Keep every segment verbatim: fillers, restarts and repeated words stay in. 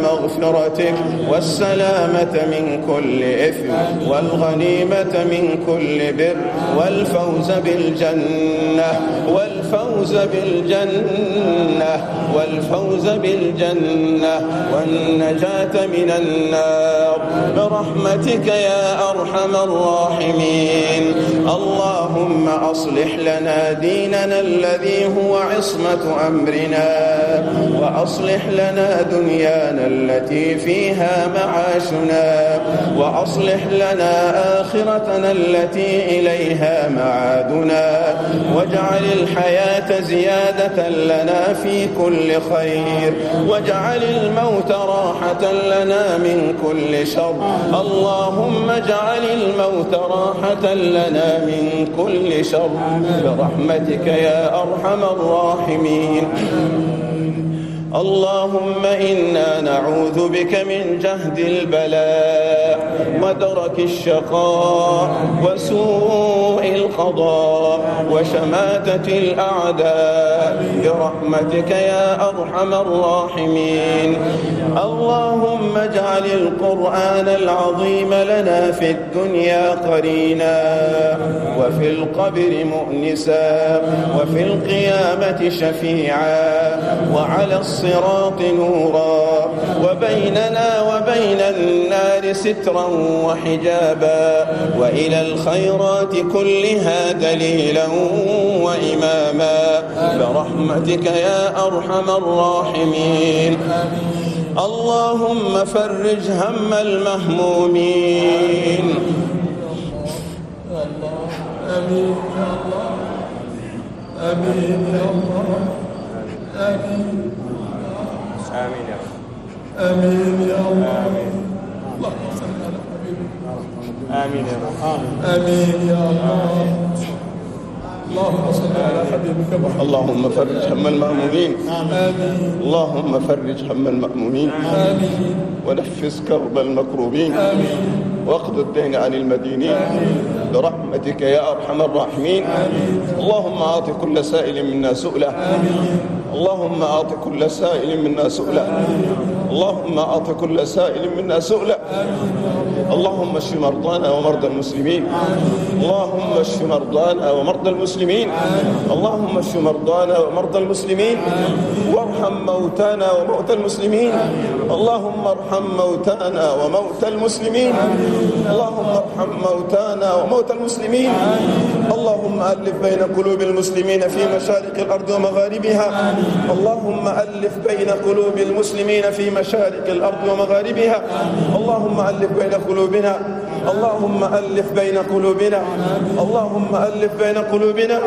مغفرتك والسلامة من كل إثم والغنيمة من كل بر والفوز بالجنة والفوز بالجنة والفوز بالجنة والنجاة من النار برحمتك يا أرحم الراحمين. اللهم أصلح لنا ديننا الذي هو عصمة أمرنا، وأصلح لنا دنيانا التي فيها معاشنا، وأصلح لنا آخرتنا التي إليها معادنا، واجعل الحياة زيادة لنا في كل خير، واجعل الموت راحة لنا من كل شر. اللهم اجعل الموت راحة لنا من كل شر برحمتك يا أرحم الراحمين. اللهم إنا نعوذ بك من جهد البلاء ودرك الشقاء وسوء القضاء وشماتة الأعداء برحمتك يا أرحم الراحمين. اللهم اجعل القرآن العظيم لنا في الدنيا قرينا، وفي القبر مؤنسا، وفي القيامة شفيعا، وعلى الصراط نورا، وبيننا وبين النار سترا وحجابا، وإلى الخيرات كلها دليلا وإماما برحمتك يا أرحم الراحمين. اللهم فرج هم المهمومين. آمين يا الله، آمين يا الله، آمين آمين يا رب، آمين يا الله. اللهم صل على حبيبك. آمين يا رب، آمين يا الله. اللهم صل على حبيبك محمد. اللهم فرج هم المهمومين. آمين. اللهم فرج هم المهمومين. آمين. ونفس كرب المكروبين. آمين. واقض الدين عن المدينين. آمين. برحمتك يا أرحم الراحمين. آمين. اللهم أعط كل سائل منا سؤله. آمين. اللهم أعط كل سائل منا سؤله. اللهم أعط كل سائل منا سؤله. اللهم اشف مرضانا ومرضى المسلمين. اللهم اشف مرضانا ومرضى المسلمين. اللهم اشف مرضانا ومرضى المسلمين. وارحم موتانا وموتى المسلمين. اللهم ارحم موتانا وموتى المسلمين. اللهم ارحم موتانا وموتى المسلمين. اللهم ألف بين قلوب المسلمين في مشارق الأرض ومغاربها. اللهم ألف بين قلوب المسلمين في مشارق الأرض ومغاربها. اللهم ألف بين قلوبنا. اللهم ألف بين قلوبنا. اللهم ألف بين قلوبنا.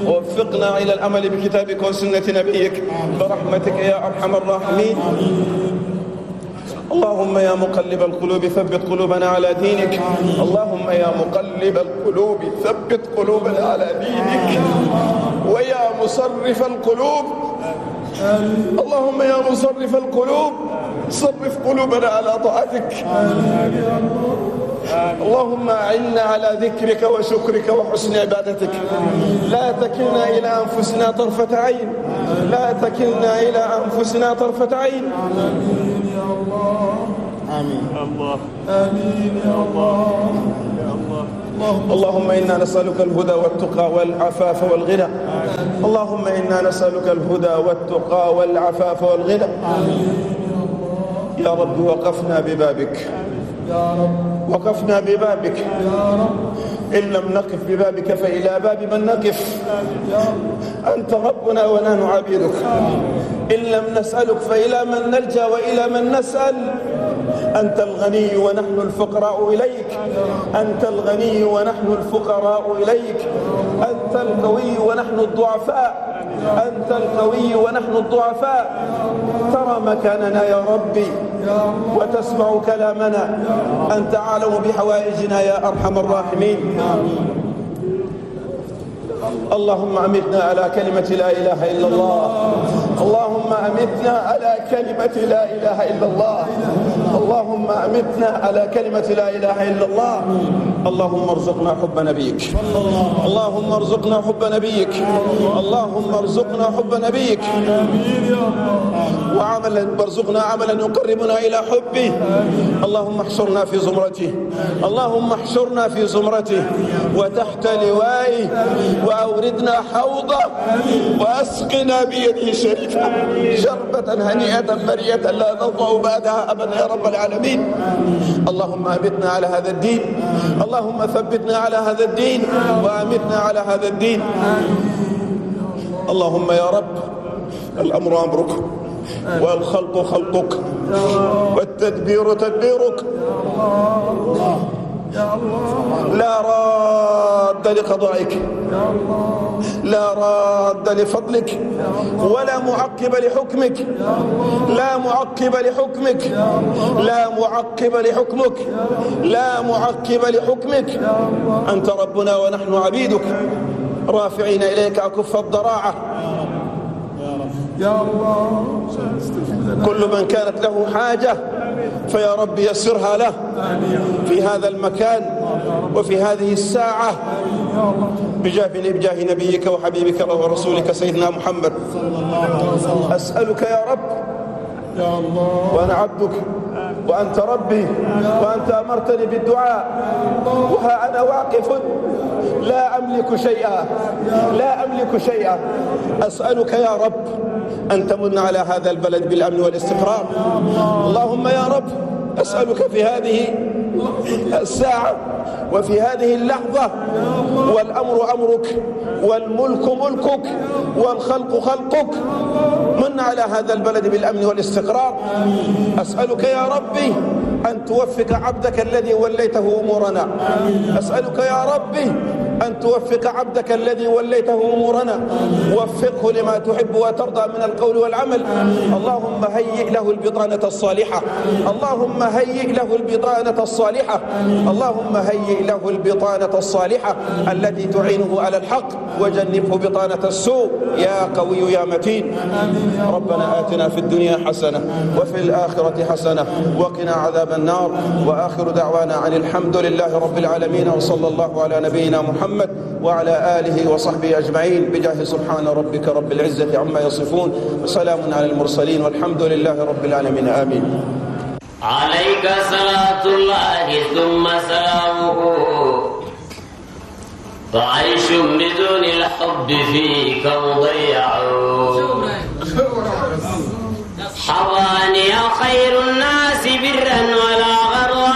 ووفقنا إلى العمل بكتابك وسنة نبيك برحمتك يا أرحم الراحمين. اللهم يا مقلب القلوب ثبت قلوبنا على دينك. اللهم يا مقلب القلوب ثبت قلوبنا على دينك. ويا مصرف القلوب، اللهم يا مصرف القلوب صرف قلوبنا على طاعتك. اللهم أعنا على ذكرك وشكرك وحسن عبادتك. لا تكلنا إلى أنفسنا طرفة عين. لا تكلنا إلى أنفسنا طرفة عين. آمين يا الله. آمين الله. آمين يا الله. يا الله. اللهم إنا نسألك الهدى والتقى والعفاف والغنى. اللهم إنا نسألك الهدى والتقى والعفاف والغنى. يا رب وقفنا ببابك. يا رب وقفنا ببابك. يا رب إن لم نقف ببابك فإلى باب من نقف؟ أنت ربنا ونحن عبيدك. إن لم نسألك فإلى من نلجأ وإلى من نسأل؟ أنت الغني ونحن الفقراء إليك. أنت الغني ونحن الفقراء إليك. أنت القوي ونحن الضعفاء. أنت القوي ونحن الضعفاء. ترى مكاننا يا ربي وتسمع كلامنا. أنت أعلم بحوائجنا يا أرحم الراحمين. اللهم أمتنا على كلمة لا إله إلا الله. اللهم أمتنا على كلمة لا إله إلا الله. اللهم أمتنا على كلمة لا إله إلا الله. اللهم ارزقنا حب نبيك. اللهم ارزقنا حب نبيك. اللهم ارزقنا حب نبيك. وعملا وارزقنا عملا يقربنا إلى حبه. اللهم احشرنا في زمرته. اللهم احشرنا في زمرته وتحت لوائه، وأوردنا حوضه، وأسقنا بيده الشريفة شربة هنيئة مريئة لا نضع بعدها أبدا يا رب العالمين. اللهم أمتنا على هذا الدين. اللهم ثبتنا على هذا الدين وأمتنا على هذا الدين. اللهم يا رب، الأمر أمرك، والخلق خلقك، والتدبير تدبيرك، لا راد لقضائك، لا راد لفضلك، ولا معقب لحكمك، لا معقب لحكمك، لا معقب لحكمك، لا معقب لحكمك. أنت ربنا ونحن عبيدك، رافعين إليك أكف الضراعة. يا الله، كل من كانت له حاجة فيا رب يسرها له في هذا المكان وفي هذه الساعة، بجاه بجاه نبيك وحبيبك ورسولك سيدنا محمد. أسألك يا رب، يا الله، وأنا عبدك وأنت ربي، وأنت أمرتني بالدعاء، وها أنا واقف لا أملك شيئا، لا أملك شيئا. أسألك يا رب أن تمن على هذا البلد بالأمن والاستقرار. اللهم يا رب، أسألك في هذه الساعة وفي هذه اللحظة، والأمر أمرك، والملك ملكك، والخلق خلقك، من على هذا البلد بالأمن والاستقرار. أسألك يا ربي أن توفق عبدك الذي وليته أمورنا. أسألك يا ربي أن توفق عبدك الذي وليته أمورنا. وفقه لما تحب وترضى من القول والعمل. اللهم هيئ له البطانة الصالحة. اللهم هيئ له البطانة الصالحة. اللهم هيئ له البطانة الصالحة التي تعينه على الحق، وجنبه بطانة السوء يا قوي يا متين. ربنا آتنا في الدنيا حسنة وفي الآخرة حسنة وقنا عذاب النار. وآخر دعوانا عن الحمد لله رب العالمين، وصلى الله على نبينا محمد وعلى آله وصحبه أجمعين، بجاه سبحان ربك رب العزة عما يصفون، وسلام على المرسلين، والحمد لله رب العالمين. آمين. عليك صلاة الله ثم سلامه، فعيش بدون الحب فيك مضيع. حواني خير الناس برا ولا غروا،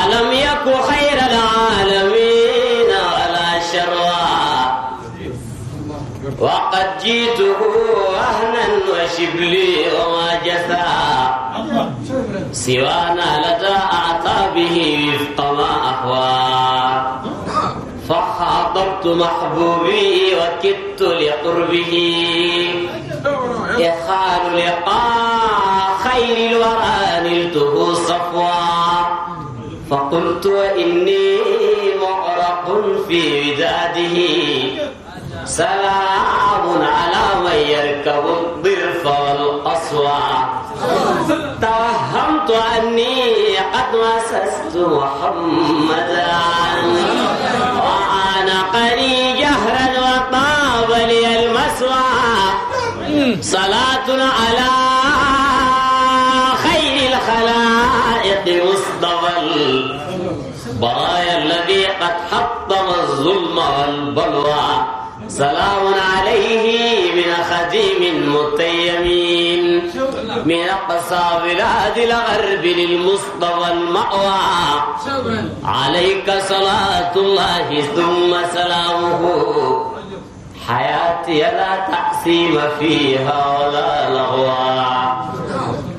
ألم يك خير العالمين ولا شروا. وقد جئته وهنا وشبلي وما جثا، سوانا لدى أعطابه وفق ما أهوى. فخاطبت محبوبي وكدت لقربه، إخال لقاء خير الورى نلته صفوا. فقلت وإني مغرق في وداده، سلام على من يركب الضرف والقصوى. توهمت أني قد مسست محمدا، وعانقني جهرا وطاب لي المسوى. صلاة على خير الخلائق مصطفى البرايا الذي قد حطم الظلم والبلوى. سلام عليه من خديم متيمين، من أقصى بلاد الغرب للمصطفى المأوى. عليك صلاة الله ثم سلامه، حياتي لا تقسيم فيها ولا لغوا.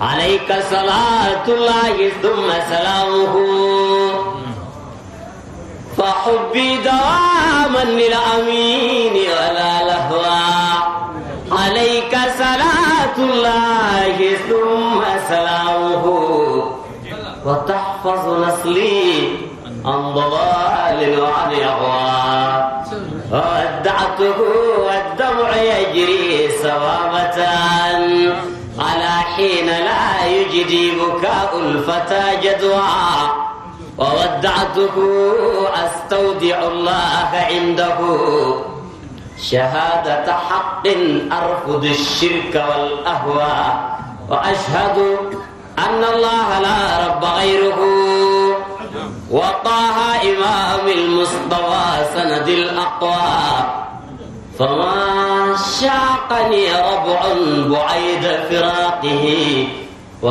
عليك صلاة الله ثم سلامه، فحبي دواما للأمين ولا لهوا. عليك صلاة الله ثم سلامه، وتحفظ نسلي عن ضلال وعن إغواء. وودعته والدمع يجري سوامة على حين لا يجدي بكاء الفتى جدوى. وودعته أستودع الله عنده شهادة حق أرفض الشرك والأهوى، وأشهد أن الله لا رب غيره، وطه إمام المصطفى سند الأقوى. فما شاقني ربع بعيد فراقه